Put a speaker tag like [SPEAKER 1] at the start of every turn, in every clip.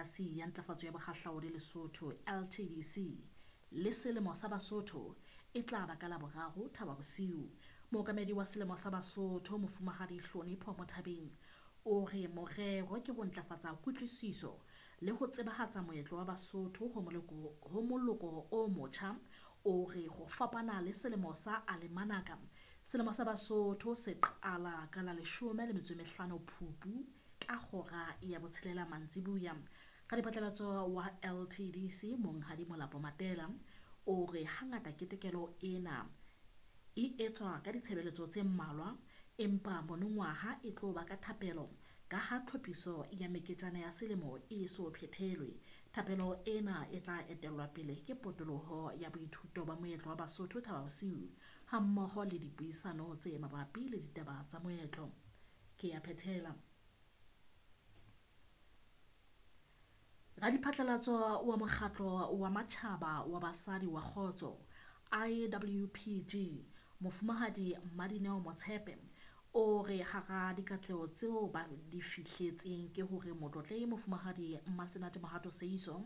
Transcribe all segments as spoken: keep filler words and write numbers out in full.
[SPEAKER 1] Koporasi ya Ntlafatso ya Bohahlaudi Lesotho, L T D C, le Selemo sa Basotho e tla ba ka Laboraro Thaba Bosiu. Mookamedi wa Selemo sa Basotho, Mofumahadi Hlonipho Mothabeng, o re morero ke ho ntlafatsa kutlwisiso le ho tsebahatsa moetlo wa Basotho ho moloko, ho moloko o motjha. O re ho fapana le selemo sa Alemanaka, Selemo sa Basotho se qala ka la leshome le metso e mehlano Phupu ka hora ya botshelela mantsibuya. Radiphatlalatso wa L T D C Monghadi Molapo Matela o re hangata ketekelo ena e etswa ka ditshebeletso tse mmalwa, empa monongwaha e tlo ba ka thapelo ka ha tlhophiso ya meketjana ya selemo e so phethelwe. Thapelo ena e tla etellwa pele ke potoloho ya boithuto ba moetlo wa Basotho Thaba Bosiu hammoho le dipuisano tse mabapi le ditaba tsa moetlo. Ke ya phethela. Radiphatlalatso wa mokgatlo wa matjhaba wa basadi wa kgotso I W P G Mofumahadi Madineo Motshepe o re hara dikatleho tseo ba di fihletseng ke hore motlotlehi Mofumahadi Mmasenate Mohato Seiso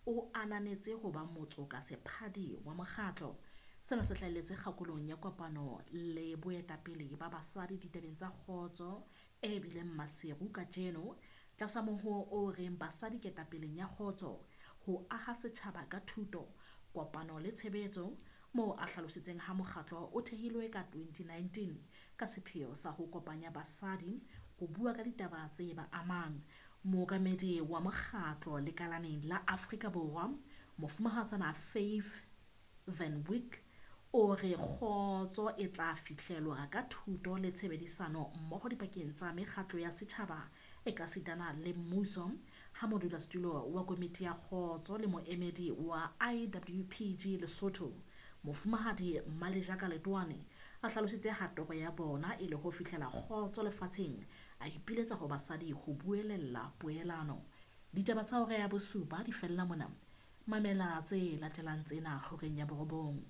[SPEAKER 1] o ananetse ho ba motsoka sephadi wa mokgatlo. Sena se hlahelletse kgakolong ya kopano le boetapele ba basadi ditabeng tsa kgotso e bileng Maseru kajeno tlasa mohoo o reng basadi ketapeleng ya kgotso, ho aha setjhaba ka thuto, kopano le tshebetso, moo a hlalositseng ha mokgatlo o thehilwe ka twenty nineteen ka sepheo sa ho kopanya basadi ho bua ka ditaba tse ba amang. Mookamedi wa mokgatlo lekalaneng la Afrika Borwa, Mofumahatsana Faith Van Wyk, o re kgotso e tla fihlelwa ka thuto le tshebedisano mmoho dipakeng tsa mekgatlo ya setjhaba e ka sitana le mmuso. Ha modulasetulo wa komiti ya kgotso le moemedi wa I W P G Lesotho, Mofumahadi Malejaka Letoane, a hlalositse ha toro ya bona e le ho fihlela kgotso lefatsheng, a ipiletsa ho basadi ho buelella poelano. Ditaba tsa hora ya bosupa di fella mona. Mamela tse latelang tsena horeng ya borobong.